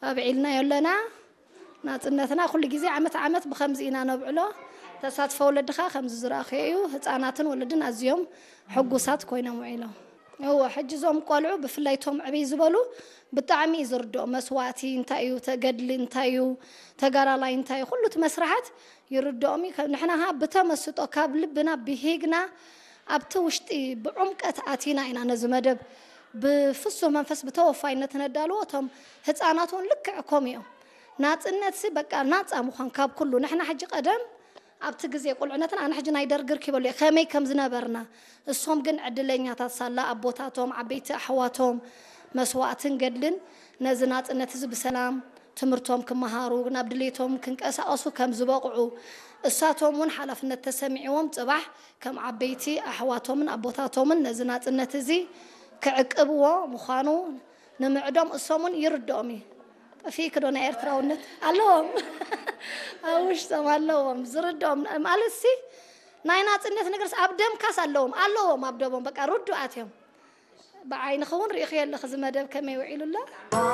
ኣብዒልናዮ ኣለና። ናጽነትና ኩሉ ግዜ ዓመት ዓመት ብኸምዚ ኢና ነብዕሎ። ተሳትፎ ወለድኻ ከምዚ ዝረኣኽዮ እዩ። ህጻናትን ወለድን ኣዝዮም ሕጉሳት ኮይኖም ውዒሎም። እወ፣ ሕጂ እዞም ቆልዑ ብፍላይ እቶም ዕብይ ዝበሉ ብጣዕሚ እዩ ዝርድኦም። መስዋእቲ እንታይ እዩ፣ ተገድሊ እንታይ እዩ፣ ተጋዳላይ እንታይ እዩ፣ ኩሉ እቲ መስርሓት ይርድኦም እዩ። ከ-፣ ንሕና ኸዓ ብተመስጦ ካብ ልብና ብሂግና ኣብቲ ውሽጢ ብዕምቀት ኣቲና ኢና ነዚ መደብ ብፍሱህ መንፈስ ብተወፋይነት ነዳልዎ። እቶም ህፃናት እውን ልክዕ ከምኡ እዮም። ናፅነትሲ በቃ ናፃ ምዃን ካብ ኩሉ። ንሕና ሕጂ ቀደም ኣብቲ ግዜ ቁልዕነትና ኣነ ሕጂ ናይ ደርጊ ርኪበሉ እየ ከመይ ከም ዝነበርና። እሶም ግን ዕድለኛታት ሳላ ኣቦታቶም ዓበይቲ ኣሕዋቶም መስዋእትን ገድልን ነዚ ናፅነት እዚ ብሰላም ትምህርቶም ክመሃሩ ናብ ድሌቶም ክንቀሳቐሱ ከም ዝበቕዑ እሳቶም እውን ሓላፍነት ተሰሚዕዎም ፅባሕ ከም ዓበይቲ ኣሕዋቶምን ኣቦታቶምን ነዚ ናፅነት እዚ ክዕቅብዎ ምዃኑ ንምዕዶም እሶም እውን ይርድኦም እዩ። ጠፊእክ ዶ ናይ ኤርትራውነት ኣለዎም ኣብ ውሽጦም ኣለዎም ዝርድኦም ማለት ሲ ናይ ናፅነት ነገርስ ኣብ ደምካስ ኣለዎም ኣለዎም ኣብ ደሞም በቃ ርዱኣት እዮም። ብዓይንኺ እውን ርኢኽዮ ኣለኺ እዚ መደብ ከመይ ውዒሉ ኣሎ።